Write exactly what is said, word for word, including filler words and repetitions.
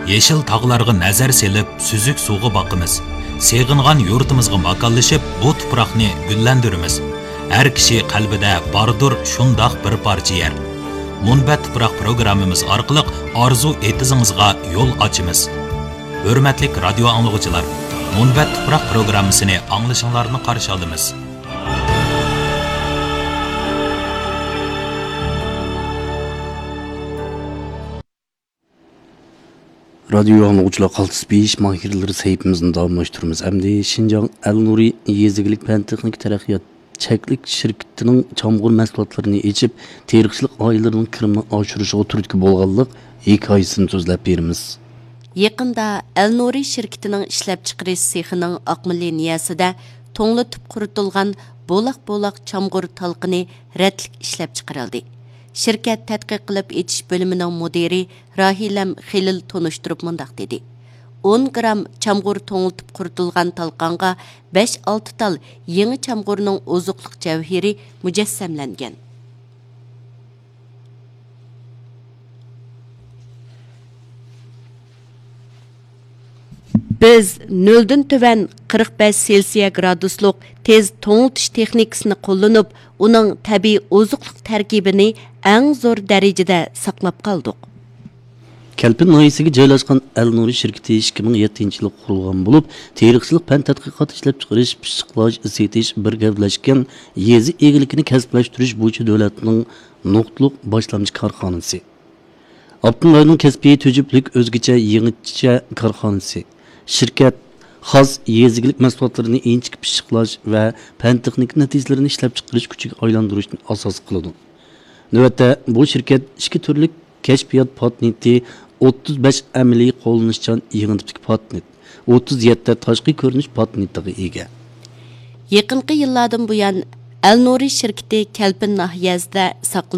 يېشىل تاغلارغا نەزەر سېلىپ، سۈزۈك سۇغا باقىمىز. سېغىنغان يۇرتىمىزغا ماكانلىشىپ، بۇ تۇپراقنى گۈللەندۈرىمىز. ھەر كىشى قەلبىدە باردۇر شۇنداق بىر پارچە يەر. مۇنبەت تۇپراق پروگراممىمىز ئارقىلىق ئارزۇ ئېتىزىڭىزغا يول ئاچىمىز. ھۆرمەتلىك رادىيو ئاڭلىغۇچىلار، مۇنبەت تۇپراق پروگراممىسىنى ئاڭلىشىڭلارنى قارشى ئالىمىز. رادىيو ئاڭلىغۇچىلار، قالتىس بېيىش ماھىرلىرى سەھىپىمىزنى داۋاملاشتۇرىمىز. ئەمدى شىنجاڭ ئەلنۇرى يېزا ئىگىلىك پەن تېخنىكا تەرەققىيات چەكلىك شىركىتىنىڭ چامغۇر مەھسۇلاتلىرىنى ئېچىپ، تېرىقچىلىق ئائىلىلىرىنىڭ كىرىمىنى ئاشۇرۇشىغا تۈرتكە بولغانلىق ھېكايىسىنى سۆزلەپ بېرىمىز. يېقىندا ئەلنۇرى شىركىتىنىڭ ئىشلەپچىقىرىش سېخىنىڭ ئاقما لىنىيەسىدە توڭلىتىپ قۇرۇتۇلغان بولاق-بولاق چامغۇر تالقىنى رەتلىك ئىشلەپچىقىرىلدى. شىركەت تەتقىق قىلىپ ئېچىش بۆلۈمىنىڭ مۇدىرى راھىلەم خېلىل تونۇشتۇرۇپ مۇنداق دېدى: «ئون گرام چامغۇر توڭلىتىپ قۇرۇتۇلغان تالقانغا بەش-ئالتە تال يېڭى چامغۇرنىڭ ئوزۇقلۇق جەۋھىرى مۇجەسسەملەنگەن.» بىز نۆلدىن تۆۋەن قىرىق بەش سېلسىيە گرادۇسلۇق تېز توڭلىتىش تېخنىكىسىنى قوللىنىپ، ئۇنىڭ تەبىئىي ئوزۇقلۇق تەركىبىنى ئەڭ زور دەرىجىدە ساقلاپ قالدۇق. كەلپىن ناھىيەسىگە جايلاشقان ئەلنۇرى شىركىتى ئىككى مىڭ يەتتىنچى يىلى قۇرۇلغان بولۇپ، تېرىقچىلىق پەن تەتقىقات، ئىشلەپچىقىرىش، پىششىقلاش، سېتىش، بىر گەۋدىلەشكەن يېزا ئىگىلىكىنى كەسىپلەشتۈرۈش بويىچە دۆلەتنىڭ نۇقتىلىق باشلامچى كارخانىسى. ئاپتونوم رايوننىڭ كەسپىي تۈجۈپلۈك ئۆزگىچە يېڭىچە كارخانىسى. شىركەت خاس يېزا ئىگىلىك مەھسۇلاتلىرىنى ئىنچىكە پىششىقلاش ۋە پەن تېخنىكا نەتىجىلىرىنى ئىشلەپچىقىرىش كۈچىگە ئايلاندۇرۇشنى ئاساس قىلىدۇ. نۆۋەتتە بۇ شىركەت ئىككى تۈرلۈك كەشپىيات پاتېنتى، ئوتتۇز بەش ئەمەلىي قوللىنىشچان يېڭى تىپتىكى پاتېنت، ئوتتۇز يەتتە تاشقى كۆرۈنۈش پاتېنتىغا ئىگە. يېقىنقى يىللاردىن بۇيان، ئەلنۇرى شىركىتى كەلپىن ناھىيەسىدە ساقلىنىپ